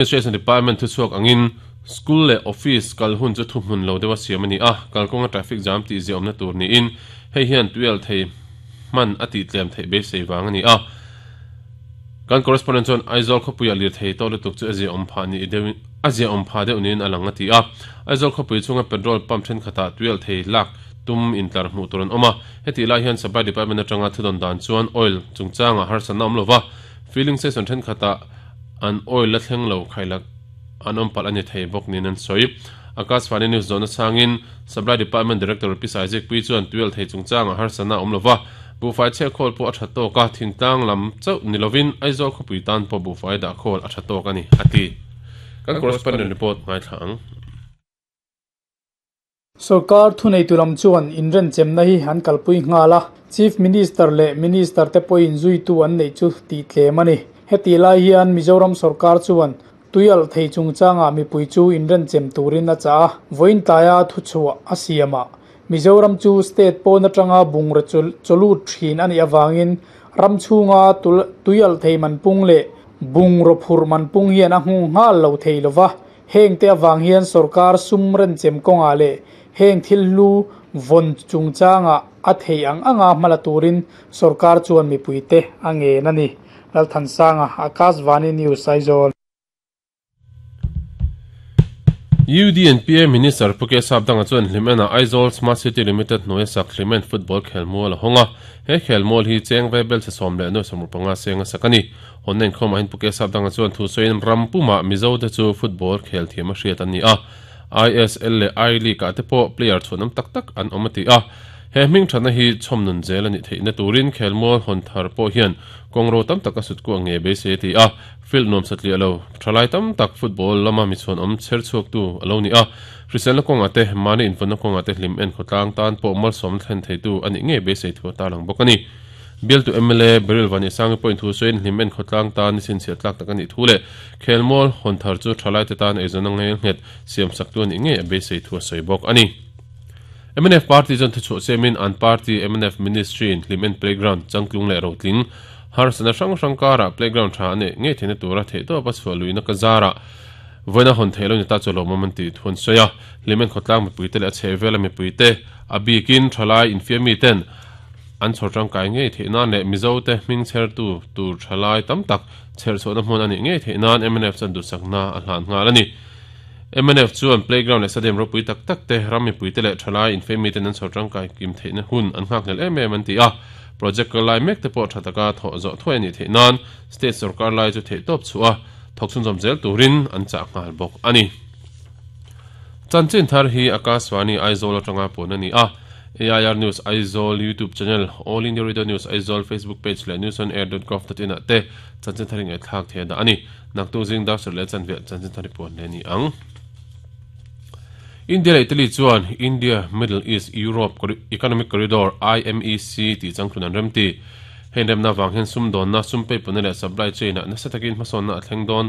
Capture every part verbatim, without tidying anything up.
Administration Department thu chuak angin school le office kal hun chu thu hmun lo dewa siam ani a kalkawnga traffic jam ti ziawm na tur niin hei hian tuial thei man ati tlem thei be sei wang ani a kan correspondent chuan Aizawl khawpuia lir thei to lutuk chu azia awm pha ni deuh azia awm pha deuh niin alang ati a Aizawl khawpui chunga petrol pump then khata tuial thei lak tum intlar hmuh tur an awm a heti lai hian supply department atanga thudon dan chuan oil chungchanga harsatna awm lova filling station then khata an oil la thleng lo khailak an awm palh ani thei bawk niin an sawi Akashvani News zona changin supply department director P Isaac pui chuan tuial thei chungchanga harsatna awm lova bufai che khol po a tha tawk a thingtlang lam chauh nilovin Aizawl khawpui tan pawh bufai dah khawl a tha tawk ani ati kan correspondent report ngai thlang Sarkar thunei tulam chuan inren chemna hi han kalpui ngala Chief Minister le Minister te poin zui tu an nei chu ti tlem ani heti lai hian Mizoram sarkar chuan tuial thei chungchanga mipui chu inren chem turin a cha voin tlaya thu chhuah a siama Mizoram chu state pawna tanga bungra cholu thin ani awangin ramchunga tuial thei man pung le bungro phur man pung hian a hung ngal lo thei lova heng te awang hian sarkar sumren chem konga le heng thil lu von chungchanga a thei ang anga hmala turin sarkar chuan mipuite ange nani Lalthansanga Akashvani News Aizawl U D N P A Minister Puke Sapdanga chuan hlimena Aizawl Smart City Limited hnuai sak hlimen football khelmual a hawnga he khelmual hi cheng vebel se sawm leh nuai sawmruk panga senga sakani honnen khawmah hin Puke Sapdanga chuan thu sawiin rampuma Mizo te chu football khel thiam a hriat ani a I S L le I League ah te pawh player chhuanawm tak tak an awm ati a he hming thana hi chhawmnun zel ani theihna turin khelmual hawn thar pawh hian kawngro tam tak a sut ku nge be se ti a field nuam satliah lo thalai tam tak football lama mi chhuan awm cher chhuak tu alo ni a hriselna kawnga te mani invawnna kawnga te hlim en khawtlang tan pawh malsawm thlen thei tu ani nge be sei thu ta lang bawk ani bial tu M L A Beryl Vani sangi point thu sawiin hlim en khawtlang tan ni sin chhiat tlak tak ani thu le khelmual hawn thar chu thalai te tan eizawn ngel nghet siam sak tu ani nge a be sei thu a sawi bawk ani M N F party chuan thu chhuah semin an party M N F ministry in hlimen playground changtlung leh rotling harsana hrang hrang kara playground tha ane nge theina tura thei to pa chhuah luina ka zara voina hawn theilo ni ta cholo man ti thun soya hlimen khawtlang mipui te leh a chhehvela mipui te a bikin thalai infiami ten an chhawr tangkai ngei theih nan leh Mizo te hming chher tu tur thalai tam tak chher chhuahna hmun ani ngei theih nan M N F chuan duhsakna a hlan nghal ani M N F chuan playground leh stadium ropui tak tak te ram mipui te leh thalai infiami ten an chhawr tangkai kim theihna hun an nghak hlel em em an ti a project lai mek te pawh tha taka thawh zawh thuai ani theih nan state sarkar lai chu theih tawp chhuah thawk chhun zawm zel turin an chah nghal bawk ani chanchin thar hi Akashvani Aizawl atanga pawn ani a A I R News Aizawl YouTube channel All India Radio News Aizawl Facebook page leh news on air dot gov dot in ah te chanchin thar ngai thlak thei da ani naktu zing dar sur leh chanve chanchin thar pawn le ni ang India leh Italy chuan India Middle East Europe Economic Corridor I M E C ti changtlun an remti hei remna wang hian sum dawnna sum pei pawna leh supply chain ah nasa takin hmasawnna a thleng dawn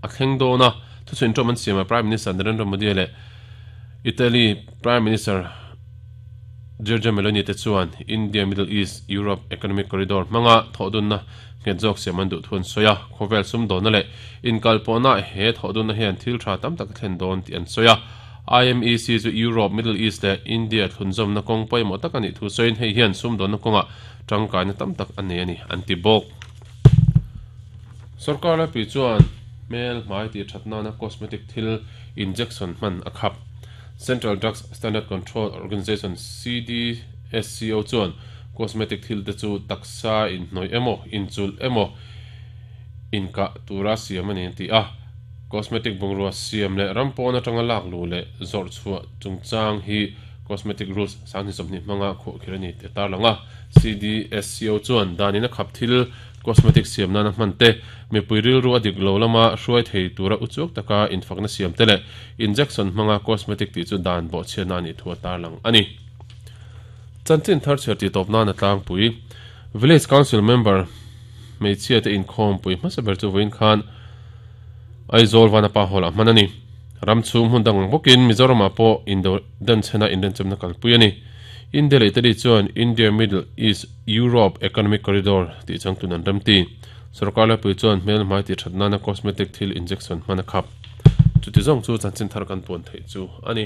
a thleng dawna thuchhuin ṭawm an siama Prime Minister Narendra Modi leh Italy Prime Minister Giorgia Meloni te chuan India Middle East Europe Economic Corridor hmanga thawhdunna nghet zawk siam an duh thu an sawi a khawvel sum dawnna leh inkalpawhna he thawhdunna hian thil tha tam tak a thlen dawn tih an sawi a I M E C chu Europe Middle East leh India thlunzawmna kawng pawimawh tak ani thu sawiin hei hian sum dawnna kawnga tangkaina tam tak ani ani an ti bawk sarkar laipui chuan hmel hmai ti thatna na cosmetic thil injection hman a khap Central Drugs Standard Control Organization C D S C O chuan cosmetic thil te chu taksa in hnawih emaw inchul emaw inka tura siam ani an ti a cosmetic bungrua siam leh rampawn atanga lak lu leh zawrh chhuah chungchang hi cosmetic rules sangni sawmhnih hmanga khuah khir ani te tar langa C D S C O chuan danin a khap thil cosmetic siam nana hman te mipui rilru a dik lo lama hruai thei tura uchuak taka infakna siam te leh injection hmanga cosmetic tih chu dan bawh chhiatna ani thu a tar lang ani chanchin thar chher ti tawp nan a tlangpui village council member hmeichhia te inkhawm pui hmasa ber chu vawiin khan Aizawl vanapa hall ah hman ani ramchhung hmun dang bawkin Mizoramah pawh indo dan chhena inrenchemna kalpui ani India leh Italy chuan India Middle East Europe Economic Corridor tih changtlun an remti Sorkar laipui chuan hmel hmai tih that nana cosmetic thil injection hman a khap. Chuti zawng chu chanchin thar kan puan theih chu a ni.